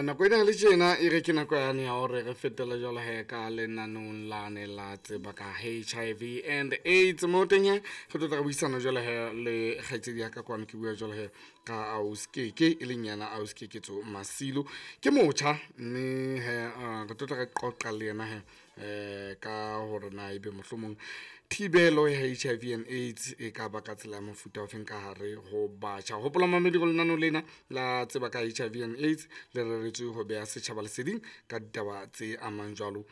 Nako ena le tjena e re ke nako yane ya hore re fetele jwalo he ka lenanong lane la tseba ka HIV and AIDS. Mo teng he re tlo tla re buisana jwalo he le kgaitsedi ya ka kwano, ke bua jwalo he ka ausi Keke, e leng yena ausi Keketso Masilo, ke motjha, mme he re tlo tla re qoqa le yena he ka hore na ebe mohlomong thibelo ya HIV and AIDS e ka ba ka tsela ya mofuta ofeng ka hare ho batjha. Hopola mamedi go lenaneo lena la tseba ka HIV and AIDS le reretswe ho beha setjhaba leseding ka ditaba tse amang jwalo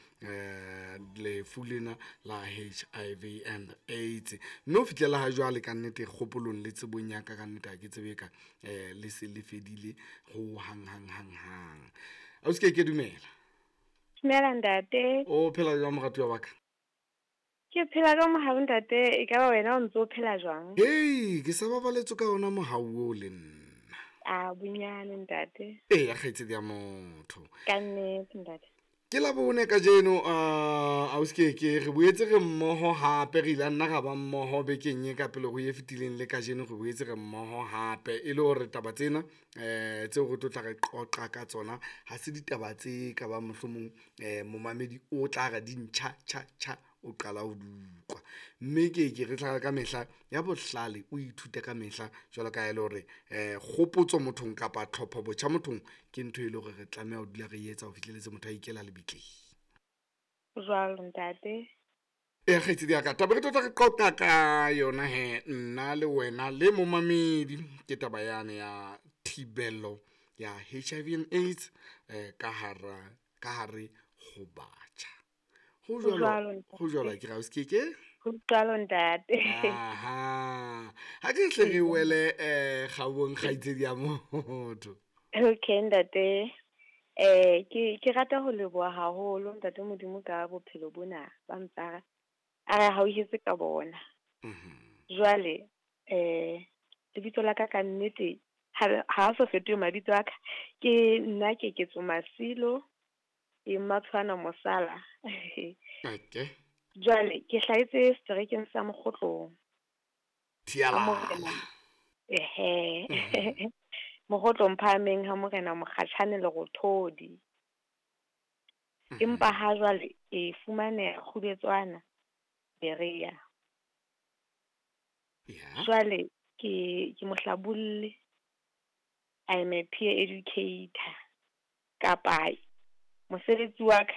lefu lena la HIV and AIDS. Mme ho fihlela ha jwale, ka nnete, kgopolong le tsebong ya ka, ka nnete ha ke tsebe ka le se le fedile ho hang hang hang hang. Ausi Keke, dumela. Dumela, ntate. O phela jwang, moratuwa wa ka? Ke phela ka mohau, ntate. E ka ba wena o ntso o phela jwang? Hei, ke sa babaletswe ka ona mohau o le nna. A bonyane, ntate. Eya, kgaitsedi ya motho. Ka nnete, ntate. Ke la bone kajeno, ausi Keke, re boetse re mmoho hape. Re ile nna ra ba mmoho bekeng e ka pele ho e fetileng, le kajeno re boetse re mmoho hape, e le hore taba tsena tseo re tlo tla re qoqa ka tsona ha se ditaba tse ka bang mohlomong momamedi o tla re di ntjha tjha tjha, o qala ho di utlwa. Mme ke re tla ka mehla ya bohlale o ithuta ka mehla, jwalo ka ha e le hore kgopotso mothong kapa tlhopho botjha mothong ke ntho e le hore re tlameha ho dula re etsa ho fihlelletse motho a ikela lebitleng. Jwalo, ntate. E kgaitsedi ya ka, taba re tlo tla re qoqa ka yona he nna le wena le momamedi ke taba yane ya thibelo ya HIV and AIDS ka hara ka hare ho batjha. Ho Ho jwalo. Jwalo. Ho jwalo, ke ra ausi Keke? Ho jwalo, ntate. Aha, ha ke hle re wele kgaong, kgaitsedi ya motho. Okay, ntate. Ke rata ho leboha haholo ntate Modimo ka bophelo bona ba ntsa a re hauhetse ka bona. Jwale lebitso la ka ka nnete ha so fetohe mabitso a ka, ke nna Keketso Masilo e Matshwana Mosala. Jwale ke hlahetse seterekeng sa Mokgotlong. Ha morena Thialala. Ehe. Mokgotlong phahameng ha morena Mokgatjhane Lerothodi. Empa ha jwale ke fumaneha Kgubetswana Berea. Jwale ke mohlabolli. I am a peer educator. Kapa mosebetsi wa ka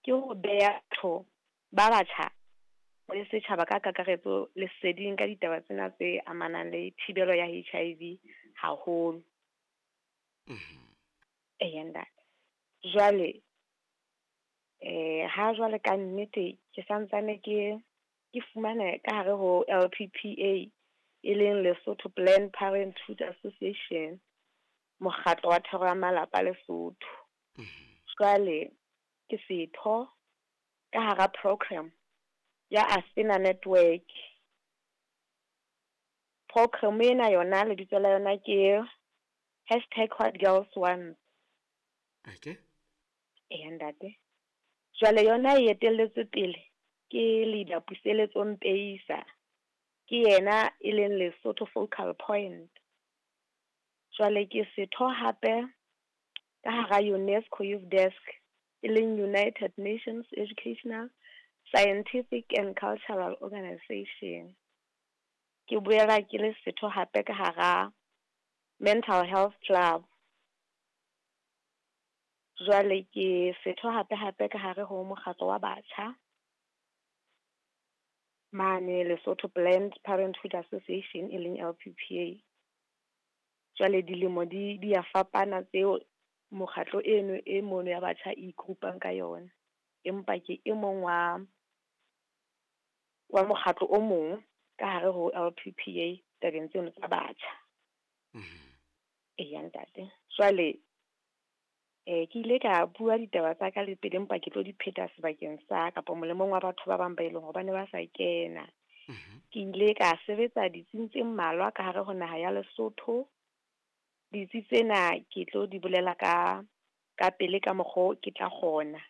ke ho beha batho ba batjha le setjhaba ka kakaretso leseding ka ditaba tsena tse amanang le thibelo ya HIV haholo. Eya, ntate. Jwale ha jwale ka nnete ke santsane ke fumana ka hare ho LPPA, e leng Lesotho Planned Parenthood Association, mokgatlo wa thero ya malapa Lesotho. Jwale ke setho ka hara program ya Athena Network. Program ena yona lebitso la yona ke #WhatGirlsWant. Eya, ntate. Jwale yona e etelletswe pele ke leader Puseletso Mpeisa. Ke yena e leng Lesotho focal point. Jwale ke setho hape ka hara UNESCO Youth Desk, e leng United Nations Educational, Scientific and Cultural Organization. Ke boela ke le setho hape ka hara Mental Health Club. Jwale ke setho hape hape ka hare ho mokgatlo wa batjha mane Lesotho Planned Parenthood Association, e leng LPPA. Jwale dilemo di ya fapana tseo mokgatlo eno e mono ya batjha e i-group-ang ka yona. Empa ke e mong wa mokgatlo o mong ka hare ho LPPA tabeng tseno tsa batjha. Eya, ntate. Jwale ke ile ka bua ditaba tsa ka le pele, empa ke tlo di pheta sebakeng sa kapa molemong wa batho ba bang ba eleng hore ba ne ba sa kena. Ke ile ka sebetsa ditsing tse mmalwa ka hare ho naha ya Lesotho. Ditsi tsena ke tlo di bolela ka pele ka mokgo ke tla kgona.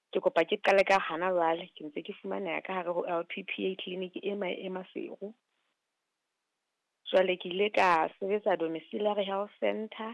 Ke kopa ke qale ka hana jwale ke ntse ke fumaneha ka hare ho LPPA clinic e e Maseru. Jwale ke ile ka sebetsa domiciliary health center.